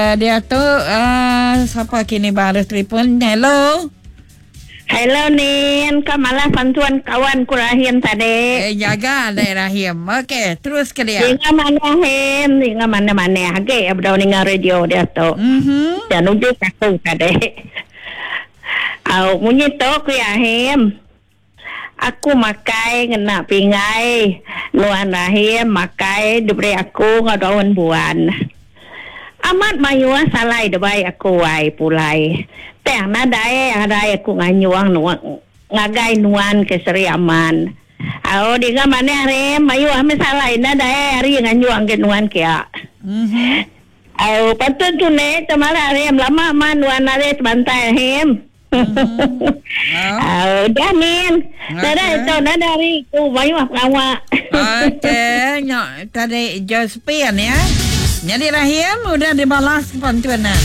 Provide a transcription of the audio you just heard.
Diatu uh, sapa kini baru telefon? Hello. Hello Nin, ka malah bantuan kawan ku Rahim tadi. Eh jaga dek Rahim. Okey, terus ke dia. Ninga mana Him, ninga mana-mana. Agi bedau ninga radio dia tu. Dan nuju aku tadi. Au munyi tu ku iya Him. Aku makai ngena pingai nuan Rahim makai diberi aku enggau daun buan. Amat mayuh salai debai aku ai pulai. Tang nadai arai aku nganyung ngagai nuan ke Seri Aman. Au dinga manah Rahim mayuh meh salai nadai ari nganyung ke nuan kia. Au patut tu ne temarak Rahim lama man nuan ari tebantai Rahim. Au udah min. Nadai tu nadai ari ku mayuh pengawa. Okey nya tadi Josephine ya. Nyadi Rahim udah dibalas ke pantun nah.